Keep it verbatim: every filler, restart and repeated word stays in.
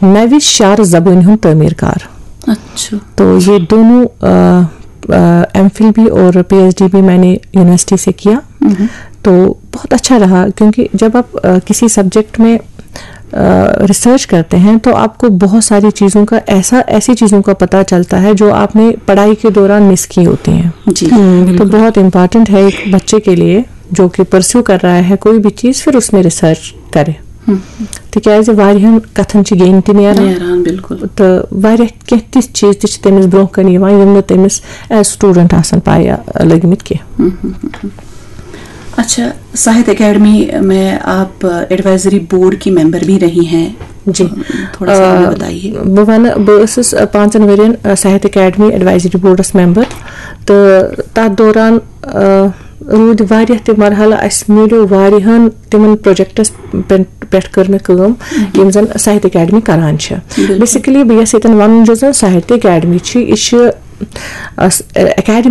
نوِ شعر زبٲنۍ ہُنٛد تعمیٖر کار۔ اچھا۔ تو یہ دونوں ایم فل بھی اور پی ایچ ڈی بھی میں نے یونیورسٹی سے کیا۔ تو بہت اچھا رہا، کیونکہ جب آپ آ، کسی سبجیکٹ میں ریسرچ کرتے ہیں تو آپ کو بہت ساری چیزوں کا ایسا ایسی چیزوں کا پتہ چلتا ہے جو آپ نے پڑھائی کے دوران مس کی ہوتی ہیں۔ جی۔ تو بہت امپارٹنٹ ہے ایک بچے کے لیے جو کہ پرسیو کر رہا ہے کوئی بھی چیز، پھر اس میں ریسرچ کرے۔ تِکیٛازِ واریاہَن کَتھَن چھِ گیٚنۍ تہِ نیران۔ نیران، بِلکُل۔ تہٕ واریاہ کینٛہہ تِژھ چیٖز تہِ چھِ تٔمِس برونٛہہ کَنہِ یِوان، یِم نہٕ تٔمِس ایز سٹوٗڈنٛٹ آسَن پَے لٔگمٕتۍ کینٛہہ۔ اچھا، ساہتیہ اکیڈمی میں آپ ایڈوائزری بورڈ کی ممبر بھی رہی ہیں۔ جی۔ تھوڑا سا ہمیں آ، بتائیے۔ بہٕ وَنہٕ، بہٕ ٲسٕس، آ، پانٛژَن ؤرِین، آ، ساہتیہ اکیڈمی ایڈوائزری بورڈَس ممبر، تہٕ تَتھ دوران، آ، روٗدۍ واریاہ تہِ مرحلہٕ، اَسہِ میلیو واریاہَن تِمَن پروجیکٹَس پٮ۪ن-، پٮ۪ٹھ کٔر مےٚ کٲم، یِم زَن ساہتیہ اکیڈمی کران چھِ۔ بِلکُل۔ بیسِکٔلی بہٕ یَژھٕ ییٚتٮ۪ن وَنُن، یُس زَن ساہتیہ اکیڈمی چھِ، یہِ چھِ، آ، س-، اکیڈمی